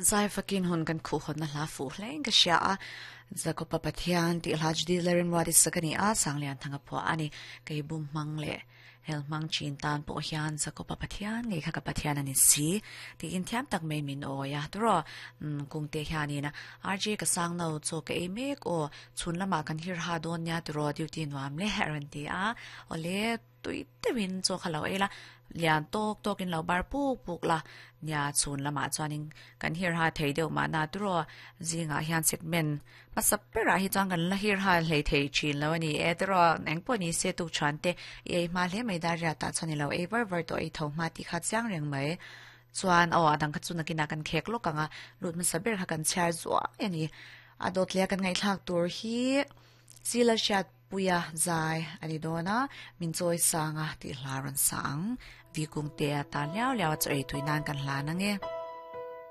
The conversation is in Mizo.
Zai fakin hun kan khuh hawnna hla fuh hlein ka hria a, Jakopa Pathian tih hla Judy Lalrinruati sak a ni a, Sanglian Thanga phuah a ni. Kei bum hmang leh hel hmang chin tan pawh hian Jakopa Pathian ngei kha ka Pathian a ni si tiin thiam tak mai min awi a. Turaw, Kungte hianin RJ ka sang no chaw ka ei mek aw, chhun lamah kan hir ha dawn nia turaw duty nuam le a rawn ti a, awle. Tui deuhin chaw kha lo ei la, lian tawk tawkin lo bar puk puk la, nia chhun lamah chuanin kan hirha thei deuh mahna turaw zingah hian segment hmasa berah hi chuan kan la hirha hlei thei thin lo a ni e turaw engpawh ni se tuk chuan te i ei hma hle mai dariat ah chuan i lo ei var var tawh ei tho hma tih kha chiang reng mai chuan aw a dang kha chu nakinah kan khek lawk ang a lut hmasa ber kha kan chhiar zuai a ni a dawt leh a kan ngaihthlak tur hi Sila hriat Puia zai a ni dawn a, min chawi sang a tih hla rawn sa ang. Vikungtea tan liau liau a chaw ei tui nan kan hlan ang e.